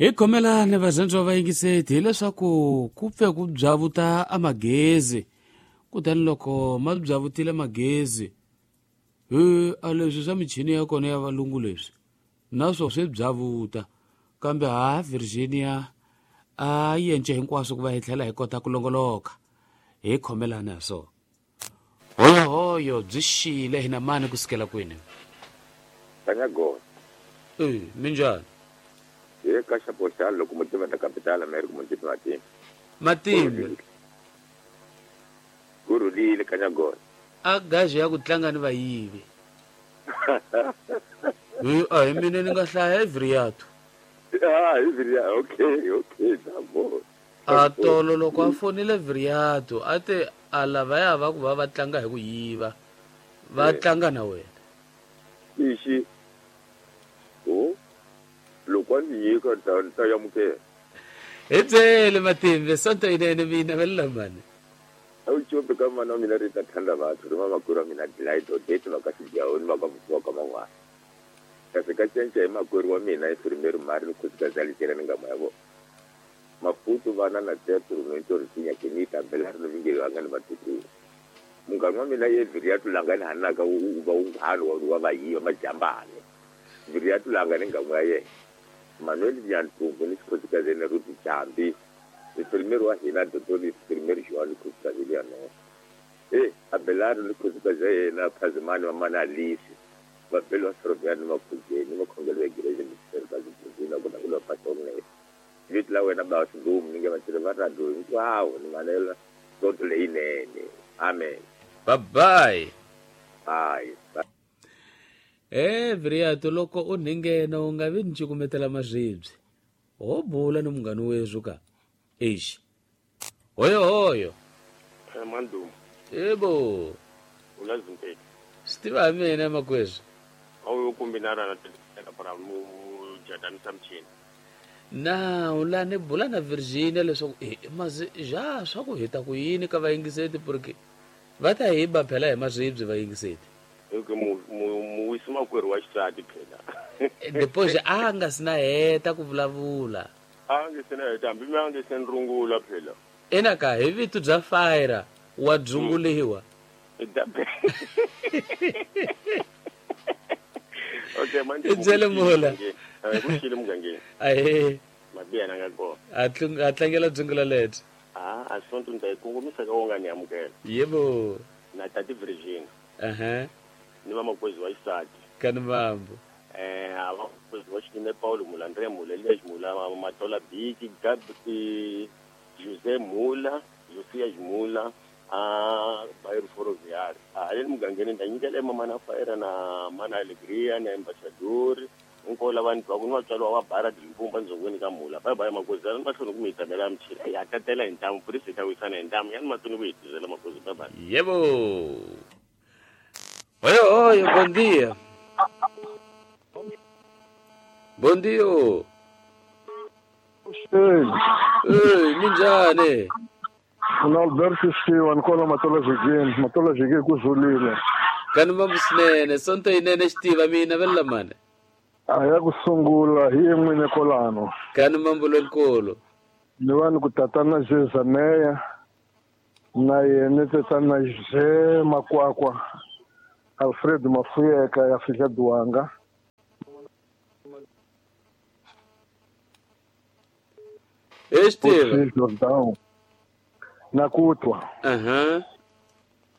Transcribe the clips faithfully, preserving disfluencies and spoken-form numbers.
Hi khomelani varhandziwa vayingiseti hileswaku ku pfe ku byavuta a magezi, kutani loko ma byavutile magezi he a leswi swa michini ya kona ya valungu leswi naswo swi byavuta, kambe ha Virginia a yi yence hinkwaswo ku va hi tlhela hi kota ku longoloka. Hi khomelani ha swona. Hoyohoyo byi xile hina mani kusukela kwini? Kanyagona. E minjhani? Hi ka xapoxana loko mutiva ta capital America mutiva Matimba. Matimba. Ku rhulile Kanyagona. A gazi ya ku tlanga ni vayivi. Hi a hi mina ni nga hlaya Viriato. Ah, hi Viriato. Okay, okay, ndabo. A tolo loko a fonile Viriato a te a lavaya va ku va va tlanga hi ku yiva. Va tlanga na wena. Ixi. Oh. Loko a ndzi nyika ta ta yamukela. Hi byele Matimba, sonto yinene mina va le mani. A wu cope ka mana wa mina ri ta thanda batho ri vamakwerhu wa mina Delight Odette va ka Xidyahoni va ka Vusiwa ka man'wana. Kasi ka cinca hi makwerhu wa mina Efrimeri Mari ni khosikazi ya Licela ni ngama ya vona. Maputo vana na Tetro Rumento Risinya Kenita Belari no Vingeli vanga ni vatukulu. Munghana wa mina ye Viriato langa ni hanaka wu va wunghana wa wa vayiva majambane. Viriato langa ni ngamu ya yena. Manuel Nyantumbu ni khosikazi na Ruth Jambi. Efrimeri wa hina Dotoli Efrimeri Joan ni khosikazi ya no. Eh Abelari ni khosikazi ya yena Phazimani wa mana Alice. Vabelo wa Sorobyani makhuzeni makhongelo ya Gereje Misteri ka Zibuzina ku na ku lo pasonge. Vito la wena ba Sidumu ni nge vatirhi va radio hinkwavo ni manela sonto leyinene. Amen. Bye bye. Bye. Eh Viriato loko u ninghena u nga vi ni cukumetela maribye. Ho bula ni munghana wethu ka. Eish. Hoyo hoyo. Eh Mandumu. Yebo. Ulazimpela. Swi tiva mina makwezi. Awu kumbinana na tela para mu jadanisa mchini. Na ula ni bula na Virginia leswaku eh mazi ja swa ku heta ku yini ka vayingiseti porque va ta hi ba phela hi maribye vayingiseti. Eke mu mu wisi makwerhu wa xisati phela. Depois a nga sina heta ku vulavula. A nge sina heta hambi mi a nge se rungula phela. Ena ka hi vito bya fire wa dzunguliwa. Okay manje. Byele mula. Eh ku xile mugangeni. Ahe. Mabiya na nga kona. A tlanga tlangela dzungula lethu. Ah, a sonto nda ikongomisa ka wonga ni amukela. Yebo. Na tati Virginia. Aha. Ni va makwezi wa xisati. Kani mambo. Eh a va makwezi wa xinene Paulo Mula, Andre Mula, Elias Mula, Matola Biki, Gabi Jose Mula, Josias Mula, a Bairro Ferroviário. A le mugangeni nda nyikela mama na Fire na mana Alegria na Ambassador. Nkola vanhu va ku ni vatswari wa bara Dimpumba ndzongweni ka Mula. Bye bye makwezi a mahlweni ku mi yitamela mchila. Ya tatela hi ntamu purisi ta wisana hi ntamu yani mahlweni ku hitizela makwezi bye bye. Yebo. Hoyo hoyo, bom dia. Bom dia. Ei. Ei, minjhani? Mina Alberto Xiwa ni kwala Matola Jigeni, Matola Jigeni ku zulile. Kani mambo swinene, sonto yinene xitiva mina va le lamani. A ya ku sungula hi n'wini kolano. Kani mambo lonkulu. Ni va ni ku tatana Jezaneya na yena tatana Je Makwakwa Alfred Mafuyeka ya Fika Duanga. Xitiva. Na ku twa. Aha.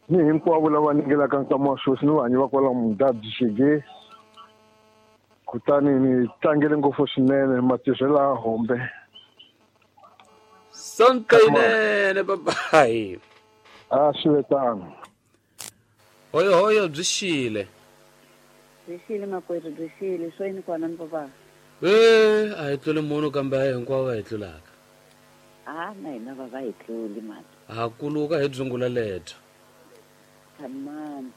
Ni hinkwavo lava ningelaka nkama wa sweswi ni vanhu va kwala Mudabyi Xige. Kutani ni tlangele ngopfu swinene matirhelo ya hombe. Sonto yinene babayi. A swi ve tano. Hoyo hoyo byi xile. Byi xile makwerhu byi xile swo yini kona ni baba. Eh a hi tluli munhu kambe a hi hinkwavo va hi tlulaka. Ah na hina va va hi tluli mani. Ha kuluka hi dzungula lethu. Thamani.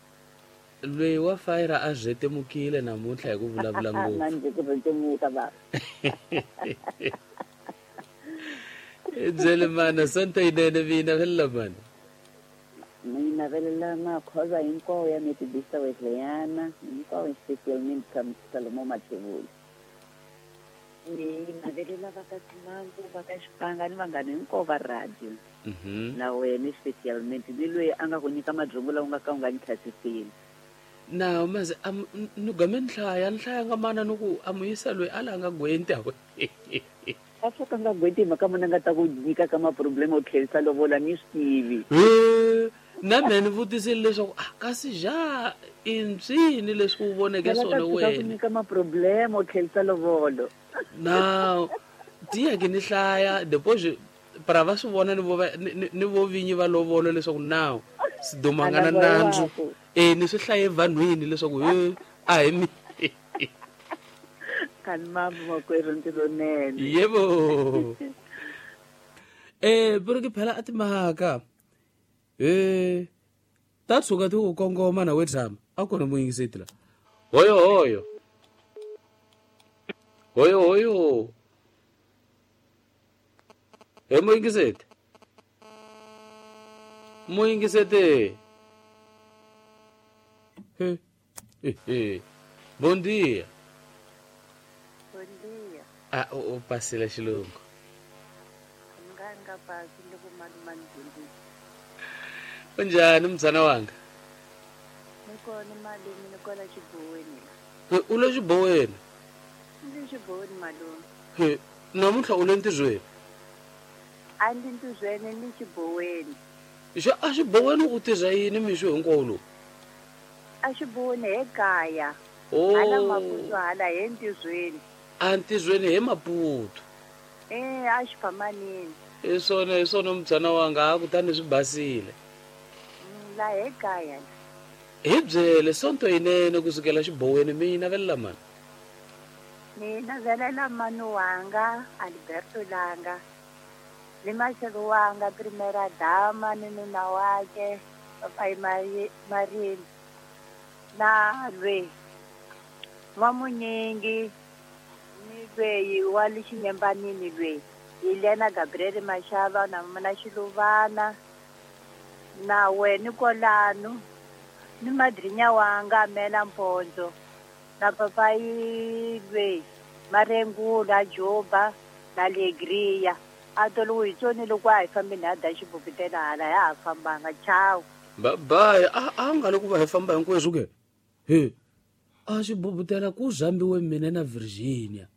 Loyi wa Fire a rhetemukile namuntlha hi ku vulavula ngopfu. Manje ku rhetemuka baba. Byele mana sonto yinene mina vela mana. Mina velela makhoza hinkwawo ya Methodista Wesleyana, hinkwawo especialmente ka Salomo Mathebula. Ni navelela va ka Simangu, va ka Xipanga ni vanghana hinkwavo va radio. Mhm. Na wena specialmente ni loyi a nga ku nyika madyongo lawa u nga ka u nga ni tlhasiseli. Na maze am ni game ni hlaya ni hlaya nga mana ni ku a muyisa loyi a la nga gwenti a A swo ka nga gwenti hi mhaka muna nga ta ku nyika ka ma-problem o tlherisa lovola ni swi tivi. He, na mehe ni vutisile leswaku ah kasi ja i mpyini leswi u voneke Phela ta swona tshuka ku wena nyika ma-problem o tlherisa lovolo. Na tiya ke ni hlaya depois para va swi vona ni vo va- ni ni- ni vo vinyi va lovolo leswaku nawu Siduma nga na A na voya nandzu waku. e ni swi hlaye vanhwini leswaku he a hi mi Kani mambo makwerhu ntirhonene. Yebo. Eh pero ke phela a timhaka eh ta tshuka ti ku kongoma na we tshama a kona muyingiseti la hoyo hoyo hoyo hoyo he muyingiseti muyingiseti he he he bom dia. Bom dia. Ah u u pasile xilungu. Ni nga ni nga pasi loko malume a ni dyondzisa. Unjhani mzana wanga? Ni kona malume, ni kwala xiboweni la. He, u le xiboweni? Ni le xiboweni malume. He, namuntlha u le ntirhweni? A ni ntirhweni, ni le xiboweni. Xa a xiboweni u tirha yini mixo hinkwawo lowu? A xiboweni he kaya. Oh. Hala Maputo hala he ntirhweni. A ntirhweni he Maputo. Eh, a xiphamanini. Hi swona, hi swona mzana wanga, a kutani swi basile. Mm, la he kaya. Hi byele sonto yinene kusukela xiboweni mi navelela mani? Ni navelela mani wanga Alberto Langa ni maxelo wanga Primera Dama ni nuna wakhe Papai Mari Marini na lwe N'wamunyingi ni lweyi wa le Xinyembanini lweyi Helena Gabriel Mashava na na Xiluvana na wena Kolano ni madrinya wanga Mela Mpondzo na papai lweyi Marengula Joba na Alegria a tolo hi tsoni loko a hi fambini ha da xibukutela hala ya ha fambanga chao. Bye bye a a nga le ku va hi famba hinkweswo ke he a xibubutela ku zambiwe mina na Virginia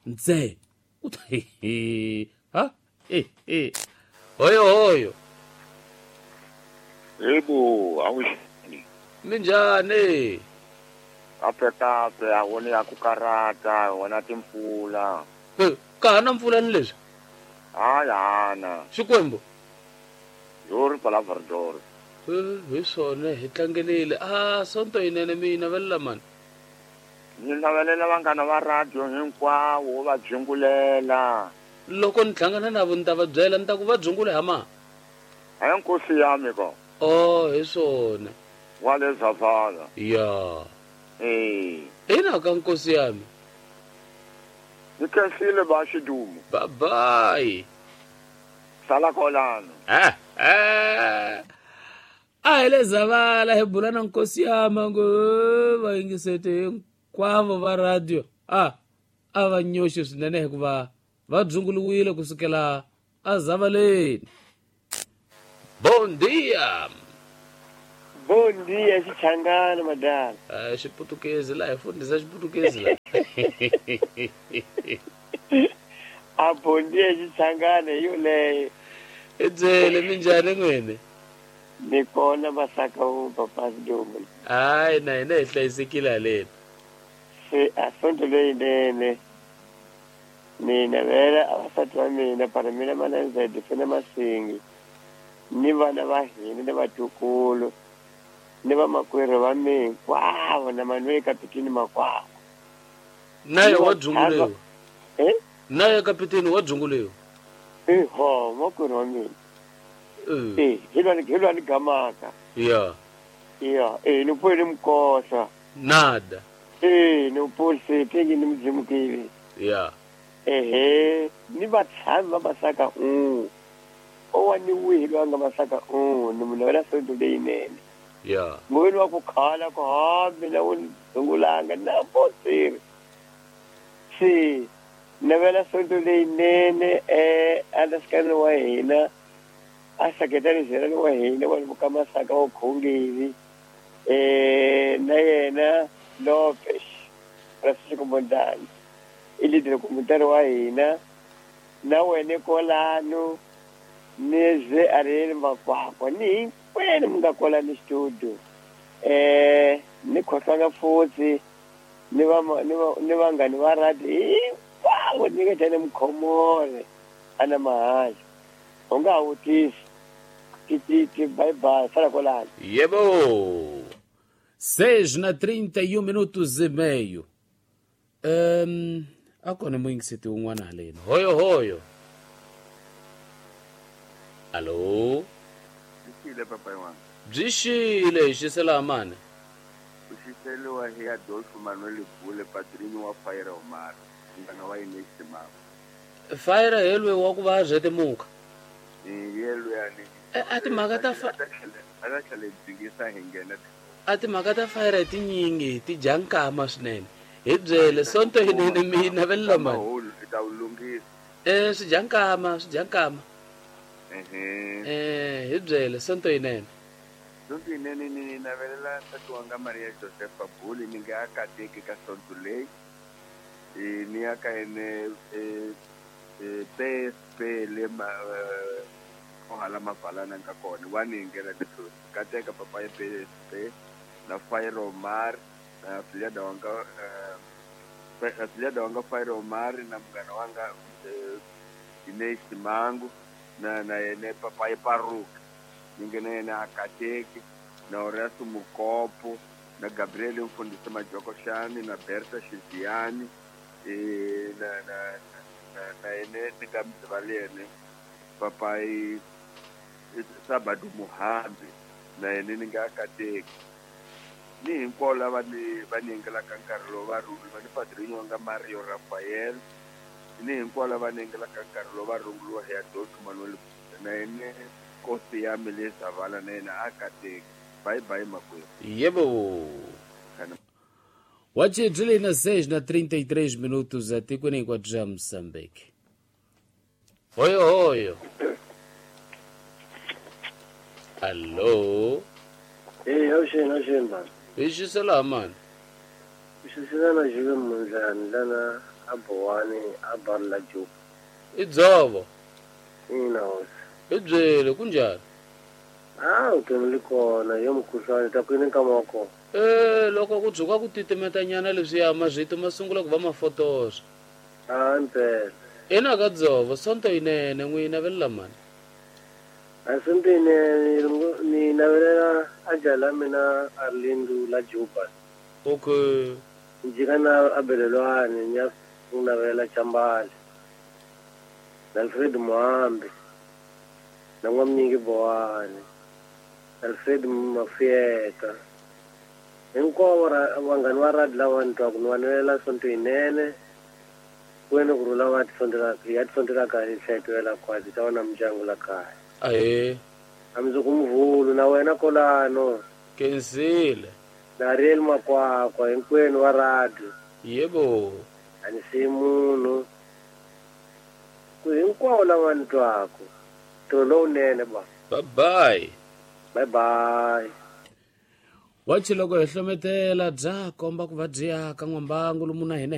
ntse u ta ha he he hoyo hoyo. Yebo, awuxini. Minjhani? Kahle kahle, a wona ya ku karata, wona timpfula. He, ka ha na mpfula ni leswi? Hayi hana. Xikwembu. Yo ri palavra. He, hi swona hi tlangelile. Ah, sonto yinene mi navelela mani? Ni navelela vanghana va radio hinkwavo va dzungulela. Loko ni hlangana na vo ni ta va byela ni ta ku va dzungule ha ma? Hayi nkosi yami ko. Oh, hi swona. Wa le Zavala. Ya. Eh. Ina ka nkosi yami. Ni khensile ba xidumo. Bye bye. Sala kolano. Ah ah. A hi le Zavala hi bula na nkosi yami ngo va yingisete hinkwavo va radio. Ah, a va nyoxi swinene hikuva va dzunguliwile kusukela a Zavaleni. Bom dia. Bom dia, Xichangana madala. Ah, xiputukezi la hi fundisa xiputukezi la. A bom dia Xichangana hi yoleyo. I byele minjhani n'wini? Ni kona masaka wu papa Sidumo. Hayi na hina hi hlayisekile haleni. Se a sonto leyinene ni navela avasati va mina para mina mananzedi fene masingi ni vana va hina ni vatukulu ni vamakwerhu va mina hinkwavo na Manuel Kapitini makwavo. Naye wa dzunguliwa. Eh? Naye Kapitini wa dzunguliwa. Eh, ho, makwerhu wa mina. Eh, hi lwa hi lwa ni gamaka. Ya. Ya, eh ni pfuye ni mkosa. Nada. Eh, ni pulse tengi ni mdzimukile. Ya. Ehe, ni vatshami va masaka un. Owa ni wihi loyi a nga masaka un, ni munhu wa sonto leyinene. Ya. Muveni wa ku khala ku ha mina u ni dzungulanga na posiri. Se Navela sonto leyinene eh alaskani wa hina a seketela zerani wa hina wa ka Masaka wa Khongeli eh na yena Lopes Francisco Mondlane i leader communitary wa hina na wena kolano ni ze Ariel Makwakwa ni hinkwenu mi nga kwalano studio eh ni khohlwanga futhi ni va ni va ni vanghani va radio hinkwavo ni nga tshane Mukhomore ana mahala u nga ha vutisi ti ti ti bye bye sala kwalano. Yebo. Seis na trinta e um minutos e meio. Um, a kona muyingiseti un'wana haleni. Hoyo hoyo. Allo. Xile papa yin'wana. Byi xile xisela mani. U xiseliwa hi Adolfo Manuel Bule padrinho wa Fire Omar. Ngana wa Inês Timava. Fire helwe wa ku va rhete muka. Yelwe yani. A timhaka ta fa a tlhela dzingisa hi nghena. A timhaka ta Fire tinyingi ti dya nkama swinene. Hi byele sonto yinene mi navelela mani. Ta wu lunghisa. Eh swi dya nkama, swi dya nkama. Ehe. Eh hi byele sonto yinene. Sonto yinene ni navelela nsati wanga Maria Josepha Bule ni nga kateki ka sonto leyi. E ni ya ka ene e P S P le ma ohala mavalana nga kona wa ni ngena leswi kateka papa ya P S P na Fire Omar na Filada wanga eh Filada wanga Fire Omar na mngana wanga Inês Mango na na ene papa ya Paruka ningena yena akateki na Horacio Mukopo na Gabriel Mfundisi Majokoshani na Berta Shiziani e na na na na ene nikamzivalene papai Sabado Muhambi na ene ningakateki ni hinkwavo lava ni va ni engelaka nkarhi lowu va rhungula va ni padrinho wanga Mario Rafael ni hinkwavo lava ni engelaka nkarhi lowu va rhunguliwa hi Adolfo Manuel na ene kosi ya mi le Zavala na yena akateki. Bye bye makwerhu. Yebo. Wache byi na seis na trinta e três minutos atikweni hinkwabyo bya Moçambique. Hoyo hoyo. Allo. Eh awuxeni awuxeni baba. Hi xisela mani. Xisela na jive Mondlane lana a Bowani a Barla Joe. I dzovo. Ina hosi. Hi byele kunjhani? Ah, vutomi li kona yo mukhuhlwani ta ku yini nkama wa kona. Eh loko ku tshuka ku titimetanyana leswiya mazvito ma sungula ku va mafotosa. Ah mpela. Ina ka dzovo sonto yinene n'wi navelela mani. A sonto yinene ni navelela a jala mina Arlindo la Juba. Okay. Njika na abelelwane ni ya ku navelela Chambale. Na Alfred Muhambi. Na N'wamnyingi Bowani. Alfred Mafieka. Hinkwavo vanghani va radio lava ni twaku ni va navelela sonto yinene. Wena ku rhula va tisontela ya tisontela kahle hlayetela kwasi ta vona mindyangu la kaya. Ahee. A mundzuku muvhulu na wena kolano. Kensile. Na Ariel Makwakwa hinkwenu wa radio. Yebo. A ni siyi munhu. Ku hinkwavo lava ni twaku. Ntirho lowunene ba. Bye bye. Bye bye. Wachi loko hi hlometela bya komba ku va byi aka n'wambangu lomu na hina.